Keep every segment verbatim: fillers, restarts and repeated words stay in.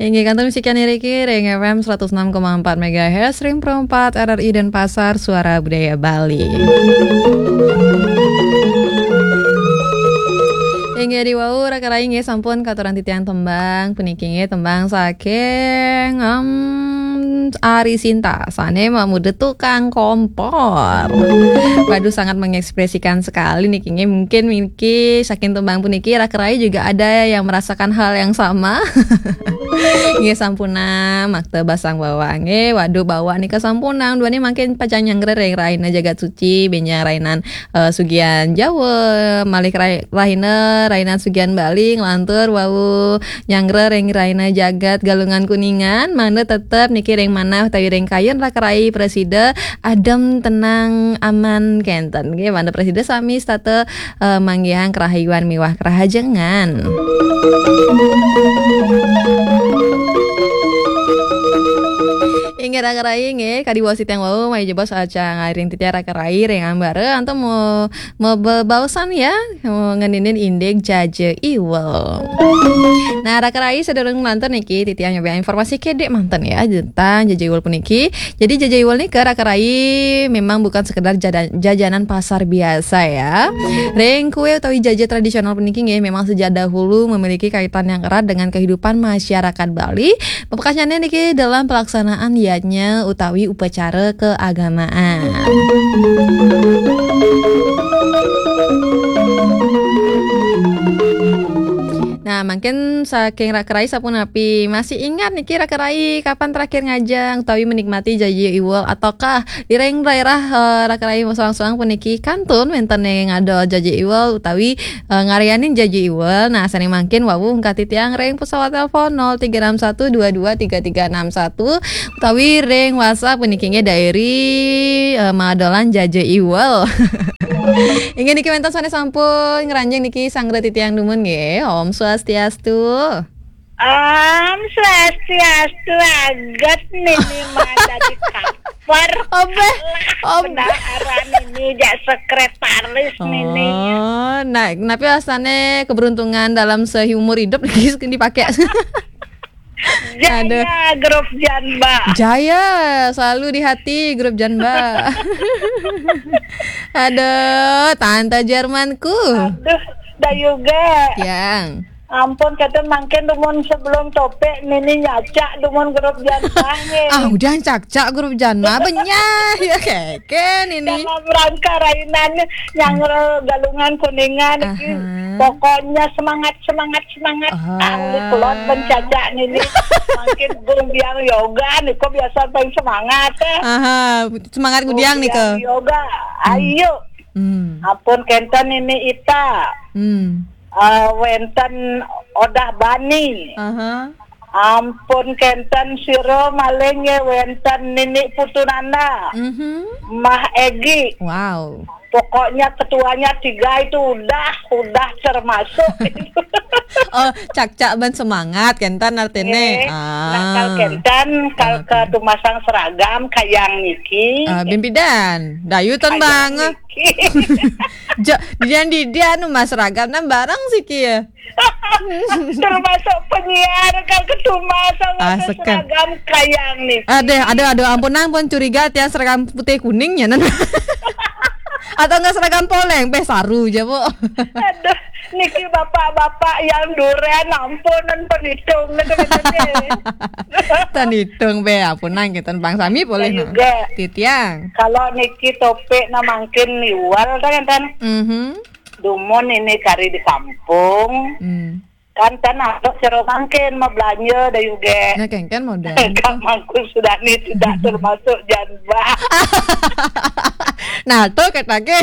Inggih kantun misikan iriki ring F M seratus enam koma empat megahertz, ring Pro empat R R I Denpasar, Suara Budaya Bali. Inggih diwau raka rai nggih sampun katurang titiang tembang puniki nggih, tembang saking, em, Ari Sinta sane mamuda tukang kompor. Waduh, sangat mengekspresikan sekali niki nggih. Mungkin niki saking tembang puniki raka rai juga ada yang merasakan hal yang sama. Nggih sampunang makta basang bawa nggih. Waduh, bawa nika sampunang. Duane mangkin pacang nyanggra ring rahina jagat suci, benjang rahinan, eh, Sugian Jawa, malih rai-, rahina, rahinan Sugian Bali, nglantur wau nyanggra ring rahina jagat Galungan Kuningan, mangda tetep niki ring manah utawi ring kayun raka rai prasida adem, tenang, aman kenten nggih. Mangda prasida sami setata, eh, manggihang kerahayuan miwah kerahajengan. Inggih raka rai nggih, kadi wau sitiang wau, malih jebos acara ngiring titiang raka rai ring ambara antuk mo-, mo-, bebaosan ya, mo-, ngeninin indik jaja iwel. Nah, raka rai sadurung nglantur niki, titiang nyobiahang informasi kedik manten ya, tentang jaja iwel puniki. Jadi jaja iwel nika raka rai memang bukan sekedar jada-, jajanan pasar biasa ya. Ring kue utawi jaja tradisional puniki nggih memang sejak dahulu memiliki kaitan yang erat dengan kehidupan masyarakat Bali. Pamekasnyané niki dalam pelaksanaan yadnya utawi upacara keagamaan. Nah, mangkin saking raka rai sapunapi, masih ingat niki raka rai kapan terakhir ngajeng utawi menikmati jaja iwel, ataukah di ring daerah, eh, raka rai soang-soang puniki kantun wénten ing ada jaja iwel utawi, eh, ngaryanin jaja iwel? Nah, sané mangkin wau engkati tiang ring pesawat telepon nol tiga enam satu dua dua tiga tiga enam satu utawi ring WhatsApp puniki nggih diary, eh, maadolan jaja iwel. Inggih niki wénten sané sampun ngranjing niki sanggra titiang dumun nggih. Om Swastiastu. Om Swastiastu, aget nini mah jadi kaper. Obeh, lah, obeh. Bendahara nini, jak sekretaris nini. Oh, nah, napi asané keberuntungan dalam seumur hidup dipakai. Jaya, aduh. Grup Janba. Jaya, selalu di hati grup Janba. Aduh, Tante Jermanku. Aduh, dah juga. Yang. Ampun, kata mangkin dumun sebelum topik nini nyacak dumun grup Janba nggih. Ah, udah cak-cak grup Janba, benyah ya keke nini. Dalam rangka rainan nyanggra Galungan Kuningan niki. Aha. Pokoknya semangat, semangat, semangat. Aha. Ah, niki kulon bencacak nini. Mangkin Gung Biang Yoga niko biasa paling semangat, eh. Aha, semangat Gung Biang niko. Yoga. Hmm. Ayo. Hmm. Ampun kenten nini Ita. Hmm. Eh, wénten Odah Bani. Aha. Ampun kenten sira malih nggih wénten Nini Putu Nanda. Mhm. Mah Egi. Wow. Pokoknya ketuanya tiga itu udah, udah termasuk. Oh, cak-cak ben semangat kenten artiné. Nggih. Ah. Nah, kal kenten, kal, oke, ketumasang seragam kayang niki. Ah, bimpidan. Dayu ten kayang bang. Niki. Jo, didian didian nu mas seragam nan bareng sih kia. Termasuk penyiar kan ketumasang. Ah, seragam kayang nih. Aduh, aduh, aduh, ampun, ampun, curiga tiang seragam putih kuning ya nan. Atau enggak seragam poleng, beh saru aja, Bu. Aduh, niki bapak-bapak yang duren, ampun, nan penitung, nih, teman-teman. Tan hitung, beh, ampun, nang, kita bang sami boleh, nah. Juga. Titiang. Kalau niki topik, nah, mangkin liwal, kan, kan? Mhm. Dumun ini kari di kampung. Hmm. Kan, kan, anak sira mangkin mau belanja dah juga. Nah, kan, kan modal. Kak Mangku Sudani tidak termasuk Janba. Nah, tuh kata ke.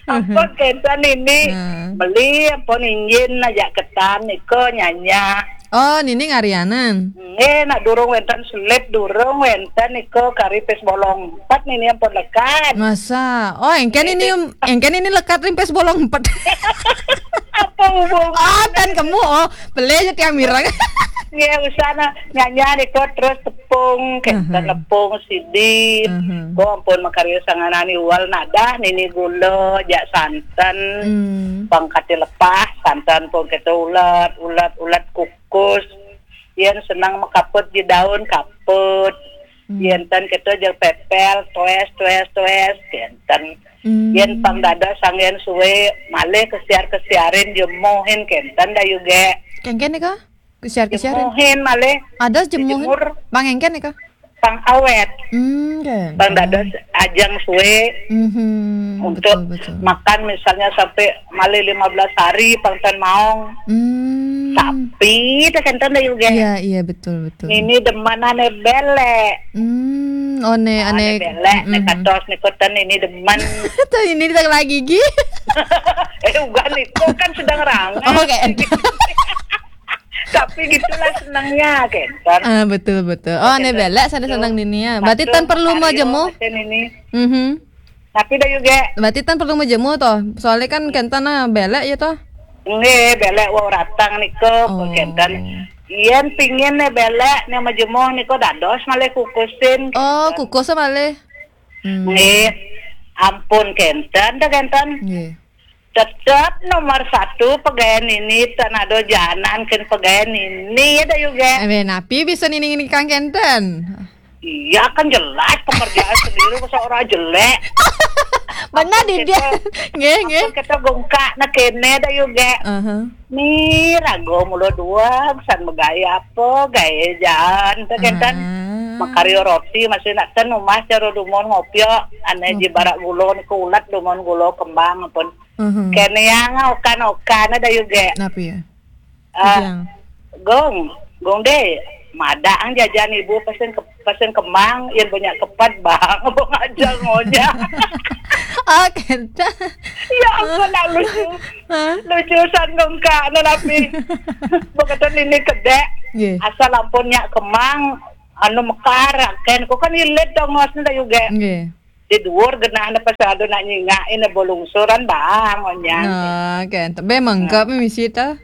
Ampun kenten ini. Nah. Beli ampun injin aja ketan niko nyanya. Oh, nini ngarianan. Nggih, nak durung wénten selip, durung wénten niko kari pis bolong empat nini ampun lekat. Masa? Oh, engken ini, engken ini lekat ring pis bolong empat. Apa hubungan? Ah, tan kemu, oh, pelih aja tiang mireng. Nggih, usah na, nyanyi nika terus tepung, kenten Aha. tepung sidi. Aha. Ko ampun makarya sanganan iwal nadah nini gula, jak santen. Hmm. Pang kati lepah, santen pun kita ulet, ulet, ulet kukus. Yen senang makaput di daun, kaput. Hmm. Yen ten kita je pepel, tues, tues, tues, kenten. Hmm. Yen pang dados anggen suwe, malih kesiar-kesiarin jemuhin kenten da yuge. Kengken nika? Kesiar-kesiarin. Jemuhin malih. Ada jemuhin. Dijemur. Pang engken nika? Pang awet. Hmm, kan. Pang dados ajeng suwe Mhm, untuk betul, betul. makan misalnya sampai malih lima belas hari pang ten maong. Hmm. Tapi teh kenten da yuge. Iya, iya, betul, betul. Ini demenane belek. Hmm, one, Ane ane. belek, nek Mm-mm. kados niku ten ini demen. Tuh, ini tak lagi gigi. Eh, uga niku kan sedang rangan. Oke. Tapi gitulah senangnya, kenten. Ah, betul, betul. Oh, ane Kenten belek, sana satu. senang nini ya. Berarti Satu tan perlu mau karyo jemu? kenten ini. Mhm. Tapi da yuge. Berarti tan perlu mau jemu toh. Soalnya kan kenten ah belek ya toh. Nggih, belek wau ratang niku, Oh. kenten. Yen pingin ne belek ne mau jemu niku dados malih kukusin, Oh, kenten. kukus malih. Hmm. Nggih. Ampun kenten, da kenten. Nggih. Tetep nomor satu pegaen ini, tan ada janan ken pegaen ini, ya da yuge. Eh, napi bisa nini kang kenten? Iya, kan jelas pekerjaan sendiri masa ora jelek. Benar, Ampun Didi. kita, Nggih, nggih. ampun kita gongkak na kene da yuge. Aha. Ni rago mulo dua, san megawe apa, gawe jan, teh kenten. Ah. Makaryo roti masih nak ten umah cara dumun ngopyo, ane ji Ngopi. barak gulo niku ulat dumun gulo kembang pun. Mhm. Kene yang okan-okan ada yuge. Napi ya? Ah, Yang. Gong, Gong de, madak ang jajan ibu pesen ke, pesen kembang, yang banyak kepet bang, abang aja ngoja. Oh, kenten. Ya ampun, nak lucu. Hah? Lucu san dong kak, anu napi. Beketan ini kedek, Nggih. asal ampun nyak kembang, anu mekar, ken, kok kan ilit dong ngos nda yuge. Nggih. Di duur genah ne pas ado nak nyingak, ini bolungsuran bang, onyang. Nah, kenten. Be mengkep Nah. misi ta.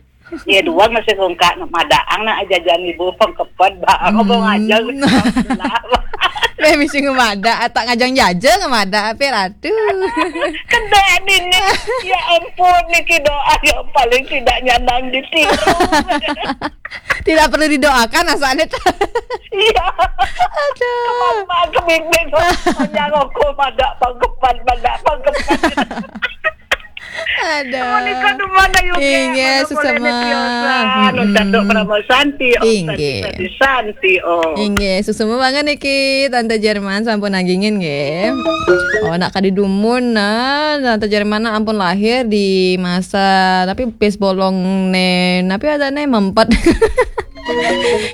Ya, dua masih rungkak nak madaang nak jajan ibu pengkepet bang, Hmm. abang aja. Be misi ngemadak, tak ngajang jaja ngemadak, ape ratu. Kena nini. Ya ampun, niki doa yang paling tidak nyandang ditiru. Tidak perlu didoakan, asal ada. Iya. Aduh. Kemana ke bimbing? Hanya aku madak pengkepet, madak pengkepet. Aduh. Monika Dumana Yuge, Inggih, mana boleh sesama. Nek Tiosan, Mm-mm. Ustaz Dok Pramono Santi, Om Santi Inggih. Santi Santi, Om. Inggih, suksma banget niki Tante Jerman sampun nanggingin nggih. Oh, nak kadi dumun nah, Tante Jerman ampun lahir di masa tapi pes bolong nen, tapi ada nen mempet.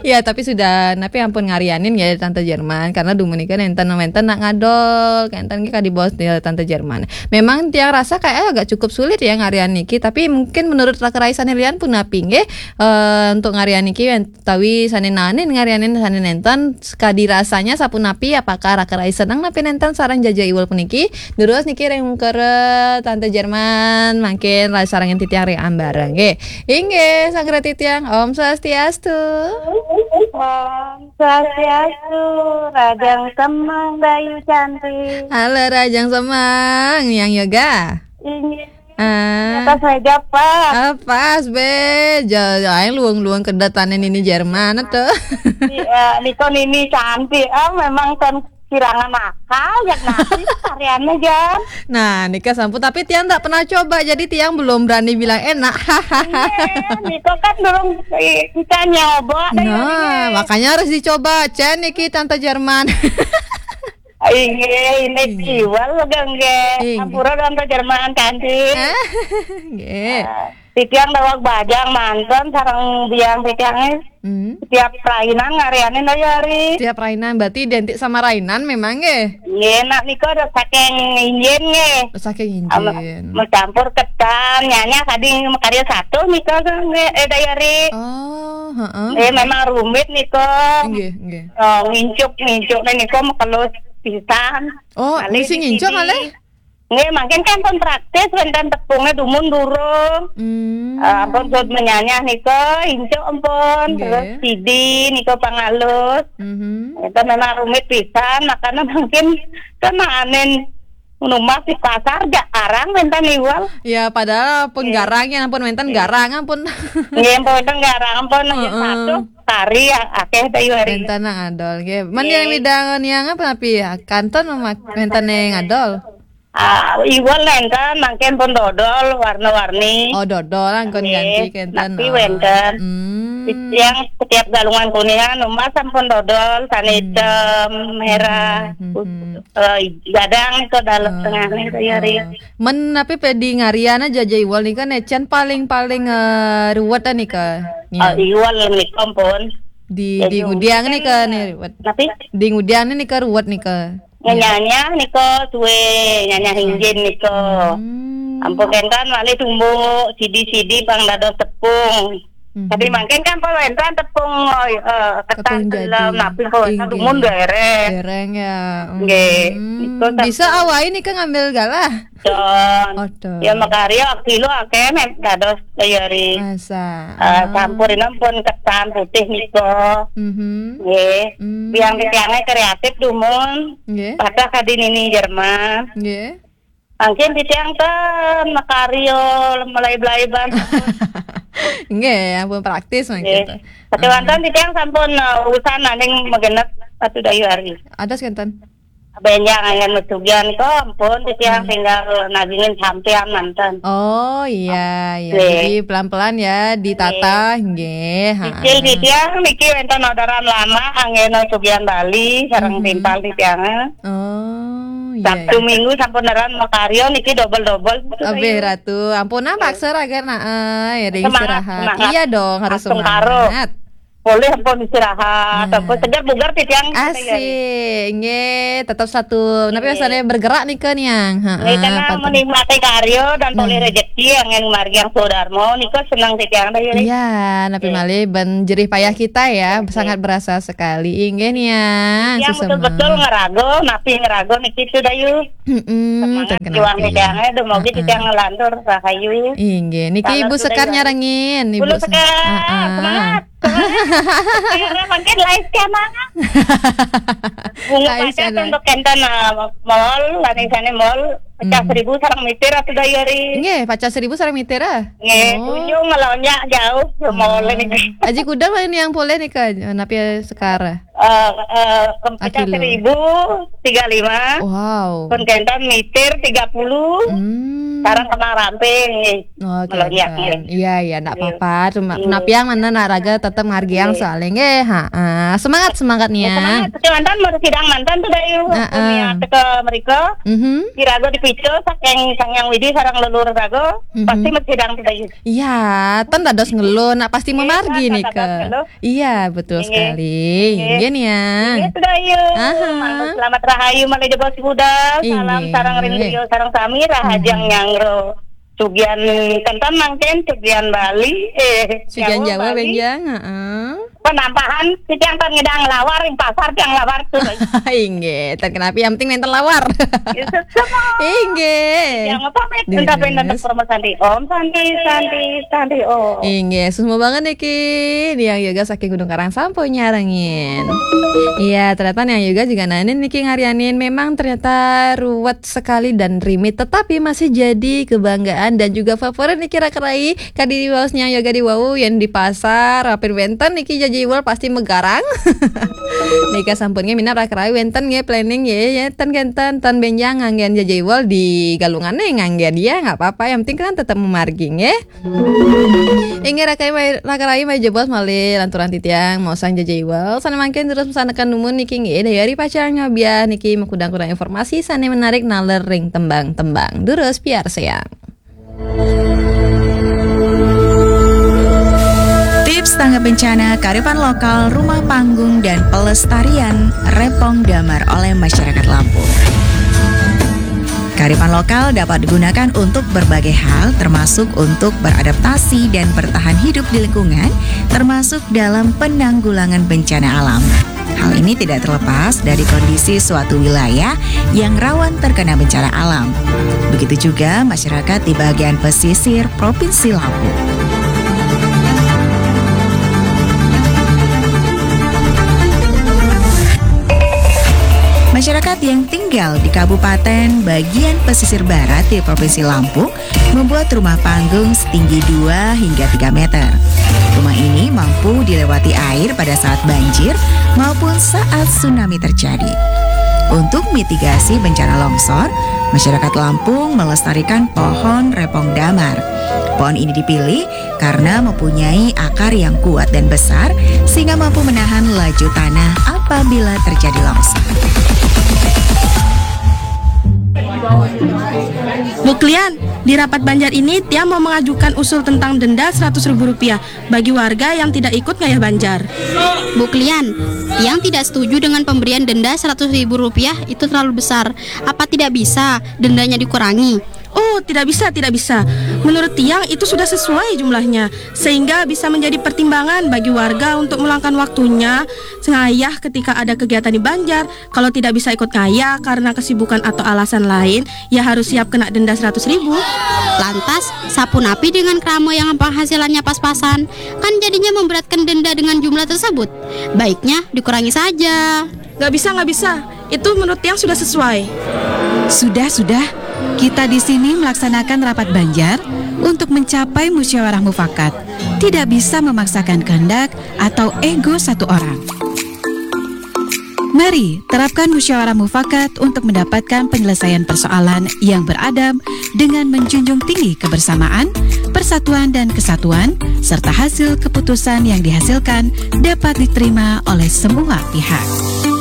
Ya, tapi sudah, tapi ampun ngarianin ya Tante Jerman, karena dumun nika nenten nenten nak ngadol, kenten nggih kadi bos ya Tante Jerman. Memang tiang rasa kayak agak cukup sulit ya ngarian niki, tapi mungkin menurut raka rai sane lian pun napi nggih, eh, untuk ngarian niki tawi sane nanin ngarianin sane nenten kadi rasanya sapunapi, apakah raka rai seneng napi nenten sareng jaja iwal puniki? Terus niki ring mungkara Tante Jerman mangkin rai sareng titiang ring ambara nggih. Inggih, sanggra titiang, Om Swastiastu. Om Swastiastu, rajang semeng Bayu cantik. Halo, rajang semeng, yang yoga. Inggih. Ah. Atas meja pas. Ah, pas be. Ja, ja, ae luang-luang kedatane nini Jerman to. Iya, niko nini cantik. Ah, memang kan kirangan akal ya nanti karyanya Jan. Nah, nika sampun tapi tiang tak pernah coba, jadi tiang belum berani bilang enak. Iya, niko kan durung, eh, kita nyoba. Nah, makanya harus dicoba. Cen niki Tante Jerman. Inggih, ini Inggih. Iwal gengge. Inggih. Ampura Tante Jerman cantik. Nggih. Ah, titiang daweg bajang manten sareng biang titiang, eh. Hmm. Tiap rainan ngarianin aja hari. Tiap rainan berarti identik sama rainan memang nggih. Nggih, nak nika ada saking injin nggih. Saking injin. Ama, mencampur ketan, nyanya tadi makarya satu nika nggih, eh, dayari. Oh, heeh. Eh, memang rumit nika. Nggih, nggih. Oh, ngincuk, ngincuk nika mekelus pisan. Oh, malih mesti ngincuk malih? Nggih, mangkin kan pun praktis, wénten tepungnya dumun durung. Hmm. Eh, ampun, suud menyanyah nika, incuk ampun, Nggih. Terus sidi nika pangalus. Mhm. Itu memang rumit pisan, makanya mungkin kan anin numah di pasar jarang wénten iwal. Ya, padahal pun garangnya ampun wénten garang ampun. Nggih, ampun wénten garang ampun Heeh. Satu kari ya akeh dayu hari. Wénten nang adol nggih. Men yang midang niang apa napi? Kanton memak wénten nang adol. Ah, iwal wénten, mangkin pun dodol warna-warni. Oh, dodol angkon Nggih, ganti kenten. napi Oh. Wénten. Hmm. Yang setiap Galungan Kuningan Numbas sampun dodol, sane hitam, merah, Hmm, hmm, put- eh, gadang itu dalam tengahnya itu ya, Ria. Men napi pe di ngarian aja aja iwal nika necen paling-paling eh, ruwet nika. Oh, iwal nika pun. Di Ya, di juga. ngudiang nika nih ruwet. Tapi Di ngudiang nih nika ruwet nika. nyanyah nika suwe, nyanyah hinjin nika. Hmm. Ampun kan malih tumbuk sidi-sidi pang dados tepung. Mhm. Tapi mangkin kan pun wénten tepung eh, ketan Tepung telem jadi. napi pun wénten Inggih. dumun dereng. Dereng ya. Nggih. Hmm. Nika Bisa awai nika ngambil galah. Don. Oto. Ya makarya kilo akeh mek dados bayari. Masa. Eh, sampurina pun ketan putih nika. Mhm. Nggih. Hmm. Biang-biangnya kreatif dumun. Nggih. Pada kadi nini Jerman. Nggih. Mangkin titiang ten makarya mulai belaiban. Nggih, ampun praktis mah Nggih. gitu. Kewanten titiang sampun eh, urusan aning megenep Ratu Dayu Ari. Ada sekanten. Benjang angen mesugian kok ampun titiang tinggal nagingin sampean manten. Oh iya, iya. Nggih. Jadi pelan-pelan ya ditata, nggih. Ha. Cicil titiang niki wénten orderan lama anggena sugian Bali sareng Mhm. timpal titiang. Oh iya. Sabtu Minggu sampun neran makarya niki dobel-dobel. Abih Ratu, ampun ah paksa raga nah, eh, ya deh Semangat, istirahat. Semangat. Iya dong, harus Langsung karo. Semangat. Boleh ampun istirahat, Nah. ampun segar bugar titiang. Asik, nggih, tetap satu. Tapi biasanya bergerak nih ke niang. Heeh, Nggih, karena pantun. Menikmati karya dan Nah. Tolih Rezeki yang ingin margi yang Sodarmo nika seneng titiang Dayu. Iya, napi malih ben jerih payah kita ya, sangat berasa sekali. Inggih niang, Yang sesama. Betul-betul ngerago, napi ngerago niki itu Dayu. Mm-mm, Semangat tengkena juang napi. Titiang, aduh mau Heeh. titiang ngelantur rahayu. Inggih, niki Kalau Ibu sudah Sekar juang. nyarengin, Ibu Bulu Se- Sekar, Heeh. Semangat. Sekarang makin live kena. Bunga Live pacar kena. Untuk kenten ah, mall, laning sane mall, pecah Mhm. Seribu sareng mitir Ratu Dayu Ari. Nggih, pacah seribu sareng mitir ah. Nggih, Oh. tujuh ngelonjak jauh ke mall ini. Aji Kuda lain yang boleh nih ke napi Sekar. Eh, eh, ke pecah Akilo. Seribu tiga lima. Wow. Pun kenten mitir tiga puluh. Hmm. Sekarang kemang ramping nih. Oh, Melonjak, keren. Iya, iya, enggak apa-apa. Cuma Iya. napi yang mana nak raga tetap ngargi yang Iya. soalnya nggih. Ha, ah. Semangat, semangat Ya, niang. semangat. Tapi mantan mau sidang mantan tuh Dayu. Heeh. Niat ke mereka. Mhm. Kirago dipicu saking sang yang widi sarang lelur rago. Mhm. Pasti mau sidang tuh Dayu. Iya, ten dados ngeluh, nak pasti memargi Iya, nih dados ke. ngeluh. Iya, betul Inggih. sekali. Inggih. Inggih niang. Iya, sudah yuk. Aha. Selamat rahayu malih jebos budal. Salam Inggih. Sarang Rinduyo sarang sami rahajeng Mhm. nyangro. Sugian kenten mangkin, sugian Bali, eh, Sugian Jawa Bali. Benjang, heeh. Penampahan, titiang kan ngedang lawar, ring pasar tiang lawar tuh. Inggih, ten kenapi yang penting menten lawar. Itu semua. Inggih. Yang apa, Met? Dines. Entah pengen dapat promo Santi Om, Santi, Santi, Santi Om. Inggih, susma banget niki. Niang Yoga saking Gunung Karang sampun nyarengin. Iya, ternyata Niang Yoga juga nanin niki ngarianin. Memang ternyata ruwet sekali dan rimit, tetapi masih jadi kebanggaan dan juga favorit niki raka rai. Kadi di waos Niang Yoga di wau yang di pasar, rapin wenten niki jaji iwal pasti megarang. Nika sampun nggih minat raka rai wenten nggih planning nggih ya ten kenten ten benjang nganggen jaji iwal di galungan nih nganggen ya nggak apa-apa yang penting kan tetap memargi nggih. Inggih raka rai, raka rai malih jebos malih lanturan titiang mau sang jaja iwal. Sane mangkin terus mesanekan dumun niki nggih dayari pacang nyobiah niki mekudang-kudang informasi sane menarik naler ring tembang-tembang. Durus piarsayang. Tips tanggap bencana, kearifan lokal, rumah panggung, dan pelestarian Repong Damar oleh masyarakat Lampung. Kearifan lokal dapat digunakan untuk berbagai hal, termasuk untuk beradaptasi dan bertahan hidup di lingkungan, termasuk dalam penanggulangan bencana alam. Hal ini tidak terlepas dari kondisi suatu wilayah yang rawan terkena bencana alam. Begitu juga masyarakat di bagian pesisir Provinsi Lampung. Masyarakat yang tinggal di kabupaten bagian pesisir barat di Provinsi Lampung membuat rumah panggung setinggi dua hingga tiga meter. Rumah ini mampu dilewati air pada saat banjir maupun saat tsunami terjadi. Untuk mitigasi bencana longsor, masyarakat Lampung melestarikan pohon repong damar. Pohon ini dipilih karena mempunyai akar yang kuat dan besar sehingga mampu menahan laju tanah apabila terjadi longsor. Bu Klian, di rapat Banjar ini Tiang mau mengajukan usul tentang denda seratus ribu rupiah bagi warga yang tidak ikut ngayah Banjar. Bu Klian, Tiang tidak setuju dengan pemberian denda seratus ribu rupiah, itu terlalu besar. Apa tidak bisa dendanya dikurangi? Oh, tidak bisa, tidak bisa. Menurut Tiang itu sudah sesuai jumlahnya, sehingga bisa menjadi pertimbangan bagi warga untuk meluangkan waktunya ngayah ketika ada kegiatan di Banjar. Kalau tidak bisa ikut ngayah karena kesibukan atau alasan lain, ya harus siap kena denda seratus ribu. Lantas, sapunapi dengan krama yang penghasilannya pas-pasan? Kan jadinya memberatkan denda dengan jumlah tersebut. Baiknya dikurangi saja. Nggak bisa, nggak bisa. Itu menurut Tiang sudah sesuai. Sudah, sudah. Kita di sini melaksanakan rapat Banjar untuk mencapai musyawarah mufakat. Tidak bisa memaksakan kehendak atau ego satu orang. Mari terapkan musyawarah mufakat untuk mendapatkan penyelesaian persoalan yang beradab dengan menjunjung tinggi kebersamaan, persatuan dan kesatuan, serta hasil keputusan yang dihasilkan dapat diterima oleh semua pihak.